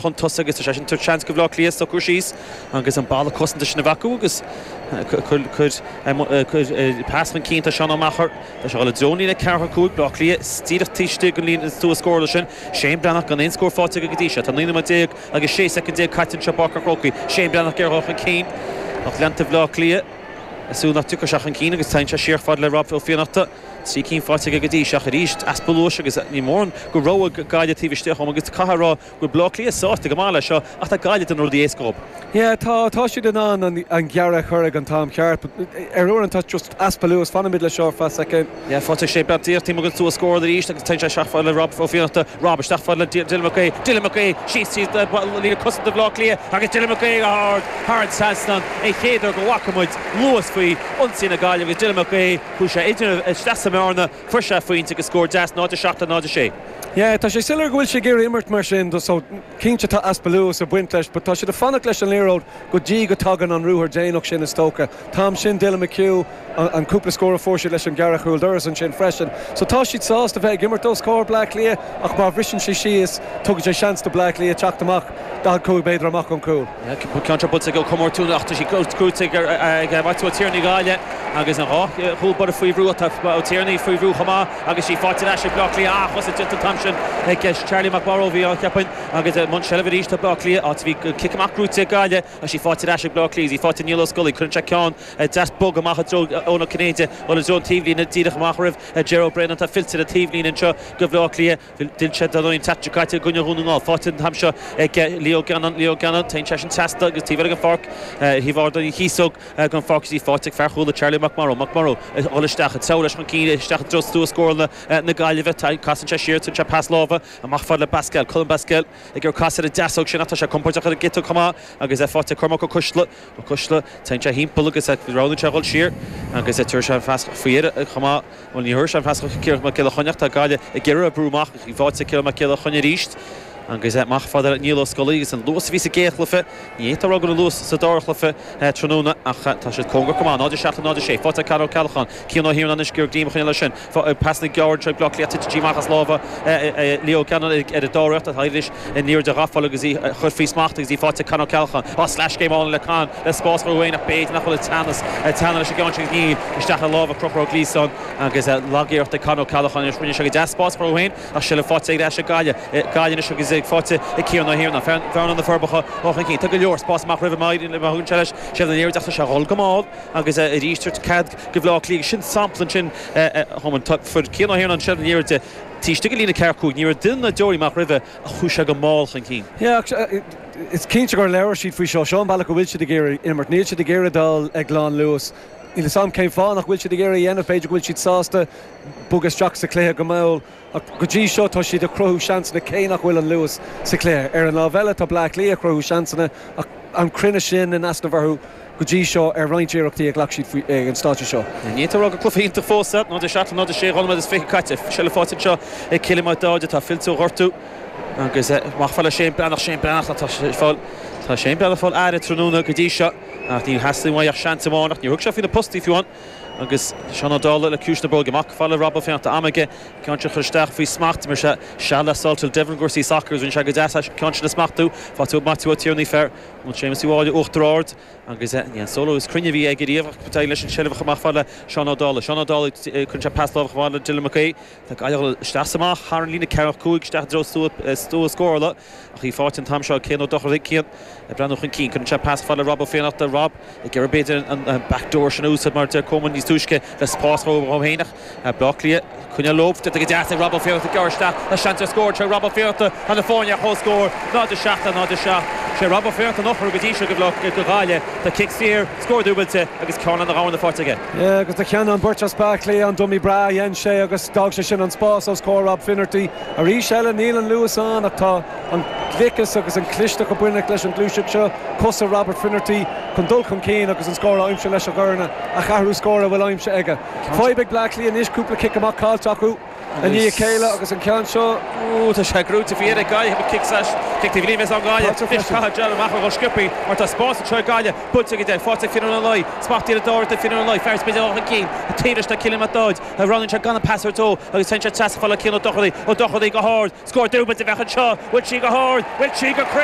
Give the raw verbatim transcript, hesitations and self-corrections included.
Chun tosaigh agus tá sé sin tabhairt seans go Bhleá Cliath socrú síos agus an balla cosanta sin a bhacú agus cuir pas chun cinn. Tá Seán Ó Meachair, tá sé le dóní le ceathair cúig Bleá Cliath díreach taobh istigh den líne stua scórála sin. Shane Breathnach gan aon scór faighte go dtí seo. Tá naoi nóiméad déag agus sé soicind déag caite anseo Páirc an Chrócaigh. Shane Breathnach ag dul chun cinn ach leanta Bhleá Cliath ag súil nach dtiocfaidh sé chun cinn agus téann sé siar fad le Rob Ó Fiannachta. Trí cinn faighte aige go dtí seo arís, easpa luais agus ní mórán go raibh Gaillimh taobh istigh chom agus caithfidh rá go Bleá Cliath sásta go maith leis seo ach tá Gaillimh den rudaí éasca. Yeah, tá tá siad in ann an, an gearradh a chur ag an t-am ceart, ar uaireanta just easpa luas. Fanfaimid le seo fa second. Yeah, faighte sé beag díreach agus stua scórála arís agus téann sé isteach fad le Rob Ó Fiannachta. Rob isteach fad le Dylan McGay. Dylan McGay síos líne cosanta Bhleá Cliath agus Dylan McGay hard thar an trasnán an chéad uair go bhfaca muid luas faoi ionsaí na Gaillimhe agus Dylan McGay chuaigh sé idir isteach sa mbearna, fuair sé phointe agus scór deas, náid seacht náid sé. Yeah, tá sé soiléir go bhfuil sé ag iarraidh imirt mar sin, so cinnte tá easpa luas ag baint leis, but tá siad ag fanacht leis an liathróid go dtí go dtagann an ruathar déanach sin is dócha. Tam sin Dylan McHugh an, an cúpla scór a fuair siad leis an gearradh chúl doras ansin freisin. So tá siad sásta bheith ag imirt os comhair Bleá Cliath ach má bhriseann sé síos tugann sé seans do Bleá Cliath teacht amach daichead cúig méadar amach an cúl. Ceann buailte go comórtún ach sí cúte ag Maitiú Tierney Gaillimh agus an dhá chúl báire faoi bhrú. Tá Tierney faoi bhrú chomh maith agus sí faighte leis ag Bleá Cliath ach os an tam sin ag Charlie McMorrow bhí an cheapain agus mun seilbh arís tá Bleá Cliath áit bhí cic amach gnóthaithe Gaillimh a sí faighte leis ag Bleá Cliath í faighte Niall Ó Scolaí. Cuireann sé ceann deas bog amach i dtreo Eoin Ó Cinnéide ó le dtreo taobhlíne díreach amach roimh Jerry Brennan. Tá fillte na taobhlíne anseo go Bleá Cliath. D'fhill sé don teach caite gúine dhún ná faighte an t-am seo ag Leo Gannon. Leo Gannon téann sé sin trasna agus taobh an pháirc thaobh don chíosóg gan pháirc í faighte ag fear chúla Charlie McMorrow. McMorrow dul isteach treo leis chun cinn isteach dtreo stua scórála na Gaillimhe. Casann sé siar sé pas láimhe amach fad le Basquel. Colm Basquel ag ar cas ar a deasóg sin tá sé compordach ar a giota chomh maith agus é faighte Cormac Ó Cuisle. Ó Cuisle téann sé timpeall agus roghnaíonn sé dhul siar agus é tuair sé an phas faoi chomh maith. Bhuel, ní thuir sé an phas Ciarán Mac Giolla Chainnigh. Tá Gaillimh ag iarraidh brú amach í faighte Ciarán Mac Giolla Chainnigh arís agus amach fad Niall Ó Scolaí agus an luas a bhí sa gcéad chluiche ní tá rá an luas sa dara cluiche tráthnóna ach tá siad cóngarach go maith. Náid seacht náid sé faighte Conor Ceallachán. Cian Ó hIarnáin gur glím chun leis sin pas na gearr Bleá Cliath tite amach as lámha Leo Gannon ar a dáireacht a thaidis in níor de ghafail agus í chur faoi smacht agus í faighte Conor Ceallachán á slash game on le Con le spás chuain ach b'fhéidir nach bhfuil teannas teanna leis an gceann sin níl isteach i lámha Conchúr Ó Gliasáin agus lagiarracht ag Conor Ceallachán rinne sé go deas spás chuain ach se le faighte ag leis Gaillimh Gaillimh agus ag faighte ag Cian Ó hIarnáin fear na Forbacha ó chun cinn. Tá go leor spás amach roimh maidin le thugann sé leis sé an iarracht sé dhul go mall agus arís cead go Bhleá Cliath sin sampla sin fuair Cian Ó hIarnáin sin an iarracht taobh istigh líne ceathair cúig ní raibh duine na deoirí amach roimhe a chuaigh sé go mall chun cinn. Is cinnte gur labhair siad faoi seo. Seo an bealach go bhfuil siad ag iarraidh imirt. Níl siad ag iarraidh dul ag lán luas. Níl a fhios agam cén fáth nach bhfuil siad ag iarraidh dhéanamh. B'fhéidir go bhfuil siad sásta bogadh isteach sa chluiche go mall. Ach go dtí seo tá siad ag cruthú seansanna cé nach bhfuil an luas sa chluiche. Ar an lámh eile tá Bleá Cliath ag cruthú seansanna ach an cruinneas sin in easnamh orthu go dtí seo ar roinnt iarrachtaí a ghlac siad faoi ag an stáitse seo. Ní rá go cluiche iontach fós náid seacht náid sé dhá nóiméad is fiche caite se le faighte seo ag Cillian Mac Dáide. Tá fillte ó ghortú agus amach fad le Shane Breathnach. Shane Breathnach tá fáil tá Shane Breathnach fáil aire tráthnóna go dtí seo ach ní theastaíonn uaidh ach seans amháin ach ní thug sé faoi na postaí fiú an agus Seán Ó Dálaigh le ciúis na bróige amach fad le Rob Ó Fiannachta. Am aige ceann sin chur isteach faoi smacht mar se seal le Saltil Devon gcúrsaí soccer rinne sé go deas ceann sin a smachtú. Faighte Maitiú Ó Tiarnaigh fear an Séamus Uí Mháille Uachtar Ard agus ní an solo is cruinne bhí ag riamh leis an seilbh amach fad le Seán Ó Dálaigh. Seán Ó Dálaigh chun sé pas láimhe chomh le Dylan McKay. Tá Gaillimh isteach amach thar an líne ceathair cúig isteach dtreo stua scórála ach í faighte an t-am seo Cian Ó Dochartaigh. Cian ag breathnú chun cinn chun sé pas fad le Rob Ó Fiannachta. Rob ag iarraidh b'fhéidir an backdoor sin úsáid mar deir Coleman níos túisce le spás ó fhéineach Bleá Cliath coinne lóbh go deas ag Rob Ó Fiannachta gearr isteach le seans ar scór sé Rob Ó Fiannachta. Tá na fáinne chomh scór náid seacht náid seacht sé Rob Ó Fiannachta nach go dtí seo go go Gaillimh. Tá cic saor, scór dúbailte agus ceann na gabhann na faighte aige. Agus tá ceann an beirt as Bleá Cliath an dummy breá dhein sé agus d'fhág sé sin an spás os comhair Rob Finnerty. Arís eile níl an luas ann ach tá an gliceas agus an clisteacht a bhaineann leis an gluaiseacht seo cosa Robert Finnerty chun dul chun cinn agus an scór aimsithe leis a dhorna a cheathrú scór a bhfuil aimsithe aige. Fadhb ag Bleá Cliath anois cúpla cic amach caillte acu. I ndiaidh a chéile agus an ceann seo Tá sé grúte fi ag Gaillimh kick kick bhí an Gaillimh caithfidh amach go sciobtha mar tá spás anseo Gaillimh buailte go fáte fin an lei, smachtíar dá fin an lei, fear spé an cín, a tíiste kiloméid a ran se ganna passer tó agus sen se fá cin ó Dochartaigh ó Dochartaigh go hard, scór dúbailte bheith anseo, bhfuil sí go hard, bhfuil sí go cruinn.